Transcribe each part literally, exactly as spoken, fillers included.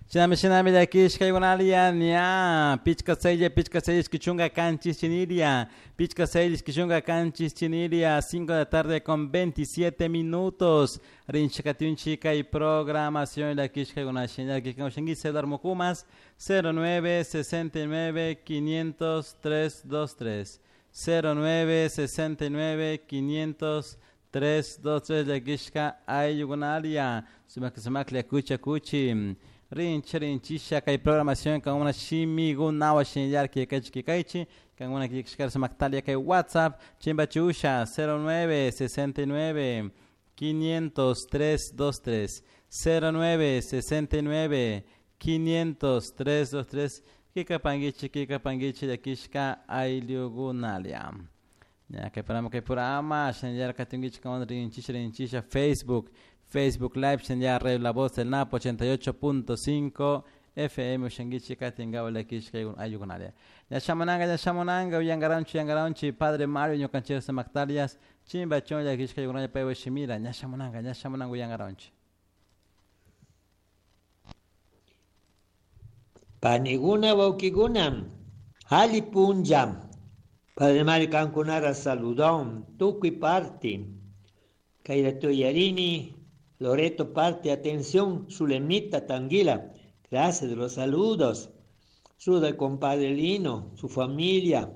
Shinami shinami llakishkaykunalia ña pichka sella pichka sella ishki kanchis chiniria pichka sella ishki kanchis chiniria cinco de la tarde con veintisiete minutos rinchikatunchi kay programación llakishkaykuna llakishkaykunashinki celular mukumas cero nueve sesenta y nueve quinientos tres dos tres cero nueve sesenta y nueve quinientos tres dos tres llakishka ayllukunalia sumak sumaklla kucha kuchi rinchi rinchisha kay programación kan una shimigunawa shinllar kikaychi kikaychi kan una kikishkar sumaktalia kay WhatsApp chimbachusha cero nueve sesenta y nueve quinientos tres dos tres cero nueve sesenta y nueve quinientos tres dos tres kikapangichi kikapangichi llakishka ayllukunalia ya kay programa kay programa shinllar katingichi kan rinchisha rinchisha Facebook Facebook Live shinllar Radio La Voz del Napo ochenta y ocho punto cinco F M ushangichi katingawa llakishka ayllukunalia ya shamunanga ya shamunanga uyangaranchi uyangaranchi Padre Mario ñukanchik sumaktalias chimbachon llakishka ayllukunalia paywa shimira ña shamunanga ña shamunanga uyangaranchi. Paniguna wawkikuna alli punlla Padre Mario kankunara saludón tukuy parti kayra yarini Loreto parte, atención, Zulemita Tanguila, gracias de los saludos. Saluda al compadre Lino, su familia.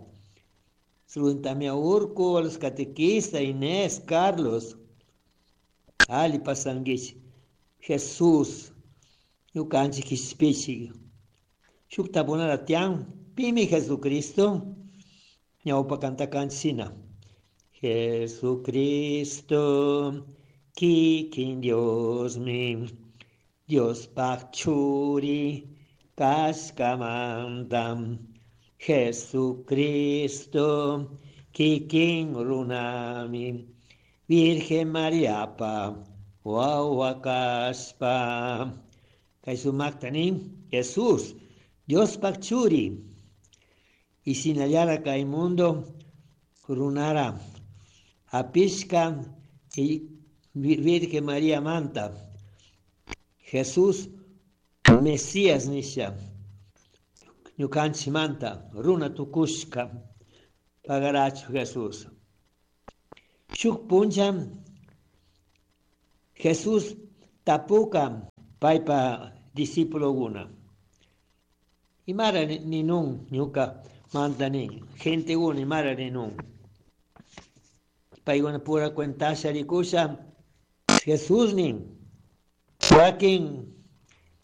Saludos también a Urco, a los catequistas, Inés, Carlos. Ali Pasanguich, Jesús, Yucanchi Quispichi. Shuktabunaratian, Pimi Jesucristo, Ñaupa Cantacancina. Jesucristo, Kikin Dios mi, Dios pachuri, cascamantam, Jesucristo, Kikin runami, Virgen María pa, Wawakaspa, Kaisumaktani, Jesús, Dios pachuri, y sin hallar acá el mundo, runara, apisca y Virgen María Manta, Jesús, Mesías Nisha, Ñukanchi Manta, Runa Tukushka, Pagaracho Jesús. Shuk puncha, Jesús tapuka, paipa discípulo guna. Imara ninun, ñuka manta nin, gente guna, imara ninun. Paiguna pura cuentasha rikusha, Jesús nin, Joaquín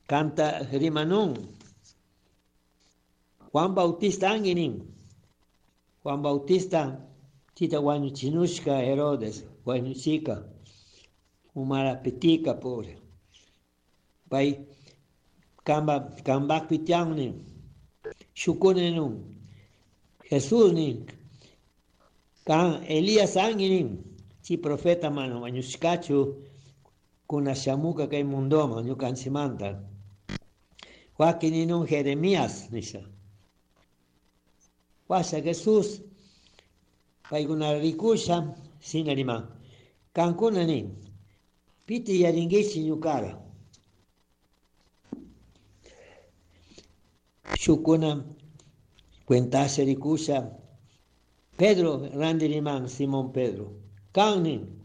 canta rimanun, Juan Bautista anginin, Juan Bautista chita guañuchinushka Herodes, guañuchika, umara petica pobre. Pai kamba kambak pitiang shukune nun, Jesús nin, kan Elías anginin, chi profeta mano guañushkachu, kuna shamuka kay mundoma ñukanchimanta. Joaquín ninun Jeremías nisha. Washa Jesús paykuna rikusha sinarima. Kankuna nin piti yaringichi ñukara. Shukuna cuentasha rikusha Pedro randiriman Simón Pedro. Kan nin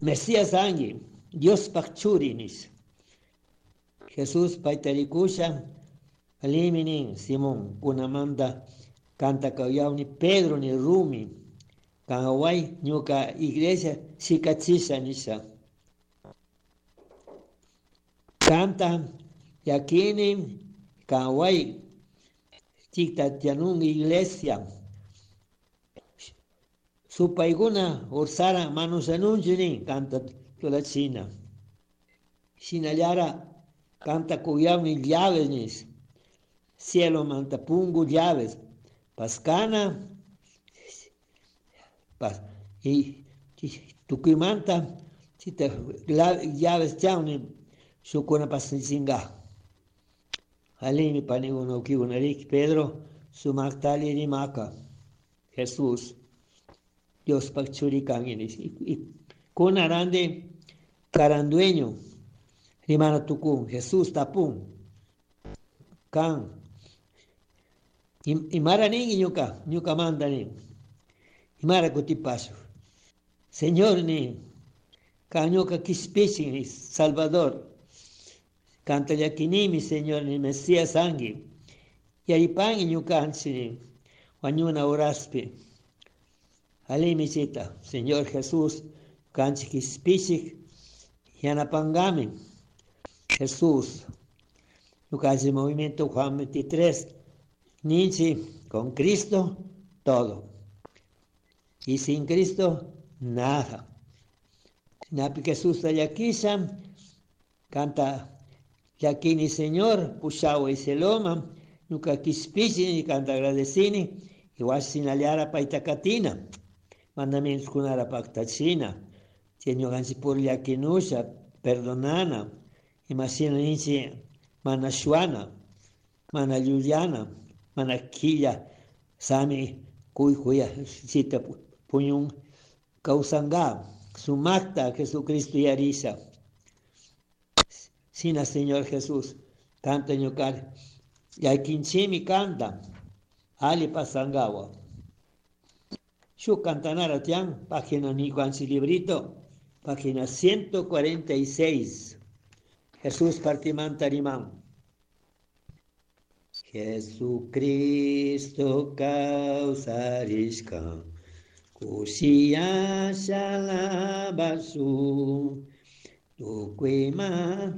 Mesías angi Dios pachurinis. Jesús paitarikusha aliminin Simón kunamanda canta kawyauni Pedro ni Rumi kanawai ñuka iglesia sikachisha nisha. Canta yakini kanawai chiktatianun iglesia supaiguna ursara manusanunchinin canta la China. Sinallara canta cuyami llaves nis. Cielo manta pungu llaves. Pascana pas y tukuimanta chita llaves chauni sukuna pasinga. Alimi paniguno kiunarik Pedro sumaktali rimaka. Jesús Dios pachurikan y con arande carandueño, rimana tucún, Jesús tapún. Kan. Imara nin ñuka, ñuka manda nin. Imara kutipasu. Señor nin, kan ñuka kispichin, Salvador. Canta llakinimi, Señor, ni Mesías angi. Yaripan ñukanchi nin, wañuna horaspi. Alimi chita, Señor Jesús, kanchi kispichik, yanapangami. Jesús, ñukanchi movimiento Juan veintitrés, ninchi, con Cristo, todo. Y sin Cristo, nada. Napi Jesús llakisha, canta llakini Señor, pushawa y seloma, ñuka kispichi, canta agradecini, igual sinaliara paitakatina, mandamientos kunara paktachina, ñukanchik pur llakinusha, perdonana, imashina ninchi mana shuana, mana llullana, mana quilla, sami kuykuya, chita puñun kawsanga, sumakta Jesucristo yarisha. Sina Señor Jesús, canta ñuka, llakinchimi canta, ali pasangawa. Shu cantanara tian, página ñukanchik librito, página ciento cuarenta y seis. Jesús partimanta rimán. Jesucristo kawsarishka, kushiyasha alabasun, tukuyma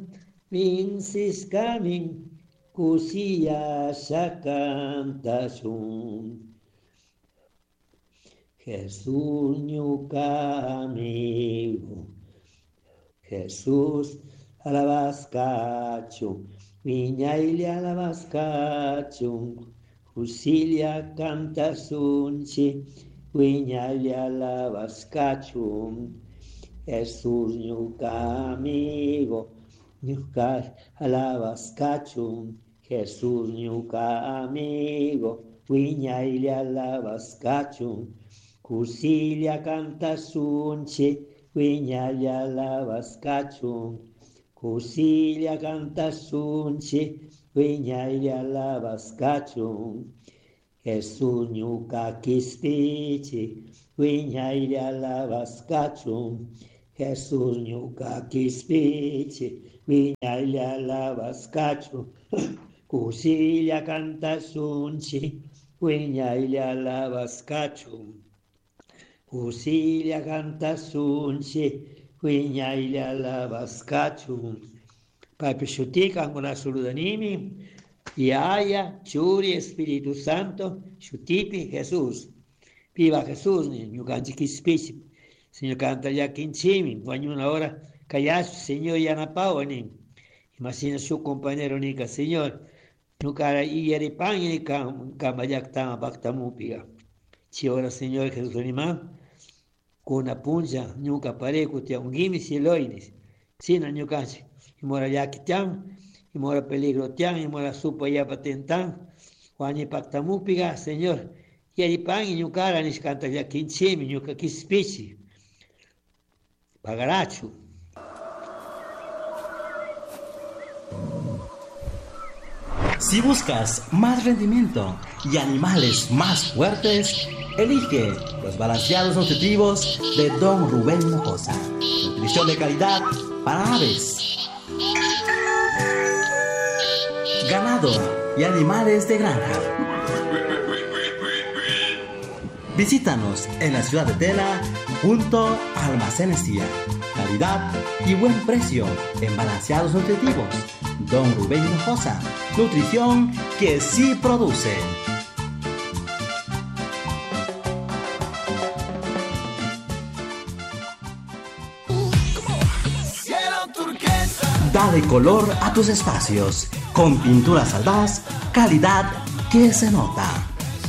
vincishkamin, kushiyasha kantashun. Jesús ñuka amigo, Jesús alabaskachu, wiñaylla alabaskachun, kushilla kantasunchi, wiñaylla alabaskachun. Jesús ñuka amigo, ñuka alabaskachun, Jesús ñuka amigo, wiñaylla alabaskachun, kushilla kantasunchi, wiñaylla alabaskachun. Kushilla kantasunchi, wiñaylla alabaskachun. Jesús ñuka kispichi, wiñaylla alabaskachun. Jesús ñuka kispichi, wiñaylla alabaskachun. Kushilla kantasunchi, wiñaylla alabaskachun. Kushilla kantasunchi, wiñaylla alabaskachun. Papi shutika anguna saludanimi, Yaya, Churi, Espíritu Santo, shutipi Jesús. Viva Jesús, ñukanchik kispichi. Señor canta llakinchimi, wañuna hora kayasu, Señor yanapawa nin. Imagina su compañero nika, Señor, ñukara iyaripan ni kama llaktama paktamupiga. Chi ora Señor Jesús animan, kuna puncha, ñuka pareku tiangimi cieloinis. Sina ñukanchik, imora llaki tian, imora peligro tian, imora supa yapa tentan, wañi paktamupiga, Señor, yaripan y ñukara nishkanta llakinchimi, ñuka kispichi. Pagarachu. Si buscas más rendimiento y animales más fuertes, elige los balanceados nutritivos de Don Rubén Hinojosa. Nutrición de calidad para aves, ganado y animales de granja. Visítanos en la ciudad de Tela, junto a Almacenes I A. Calidad y buen precio en balanceados nutritivos. Don Rubén Hinojosa, nutrición que sí produce. Dale color a tus espacios con Pinturas Aldaz, calidad que se nota.